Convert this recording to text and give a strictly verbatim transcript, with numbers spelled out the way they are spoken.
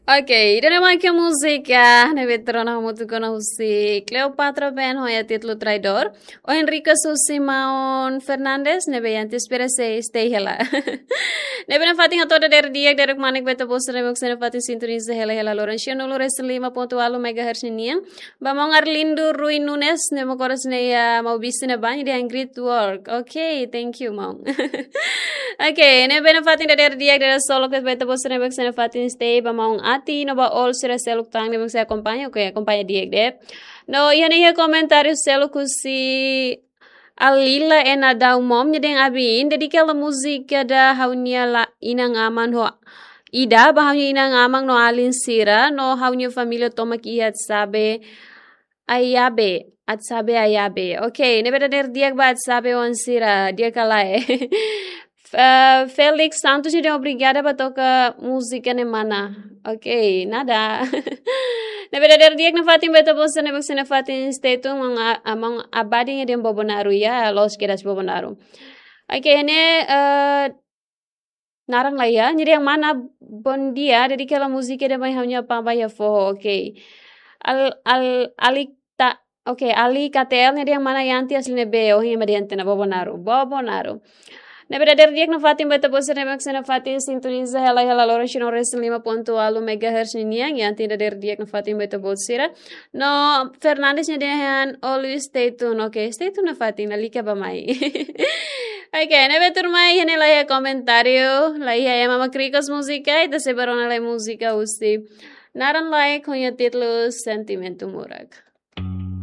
Ok, ida-ne'e mak múzika ne'ebé tuur ona hamutuk ona husi Cleopatra Band ho nia títulu Traidór. Ohin request husi maun Fernandes, ne'ebé iha Inspira sei stay hela. Ne'ebé nafatin hato'o dadeer di'ak, dadeer-manek ba ita-boot sira ne'ebé sei nafatin sintoniza hela hela loron cento e um resin lima ponto ualu megahertz ninian. Ba maun Arlindo Rui Nunes, ne'ebé mós ko'alia ne'e iha Maubisse ne'ebá, nia dehan great work. Ok, thank you, maun. Ok, ne'ebé nafatin dadeer di'ak, dadeer solok ba ita-boot sira ne'ebé sei nafatin stay, ba maun Ati, no ba all sira seluk tan ne'ebé sei akompaña, ok, akompaña di'ak de'it. No, iha ne'e iha komentáriu seluk husi Alila Ena Daumom, nia dehan Abin, dedika hela múzika ida ba ha'u-nia la inan-aman ho ida, ba ha'u-nia inan-aman no alin sira, no ha'u-nia família tomak iha Atsabe, Ayabe, Atsabe Ayabe. Ok, ne'ebé dadeer di'ak ba Atsabe oan sira, di'ak ka lae. Eh, Felix Santos nia dehan obrigada ba toka múzika ne'e mana. Ok, nada. Ne'ebé dadeer di'ak nafatin ba ita-boot sira ne'ebé sei nafatin stay tune, maun a-, a-, maun Abadi nia dehan Bobonaro, ya, loos kedas Bobonaro. Ok, ne'e, eh, naran laiha, nia dehan mana bom dia, dedika hela múzika ida ba ha'u-nia apá ba iha foho, ok. Al, al, Alita, ok, Ali K T L nia dehan mana Yanti asli ne'ebé, oh, ema dehan tiha ona Bobonaro, Bobonaro. Ne'ebé dadeer di'ak nafatin ba ita-boot sira ne'ebé sei nafatin sintoniza hela hela loron cento e um resin lima ponto ualu megahertz ninian, Yanti, dadeer di'ak nafatin ba ita-boot sira. No, Fernandes nia dehan always stay tune, ok, stay tune nafatin, lalika bá-mai. Ok, ne'ebé tuirmai, iha ne'e laiha komentáriu, laiha ema mak request múzika, ita sei bá rona lai múzika husi naran laek ho nia títulu Sentimentu Murak.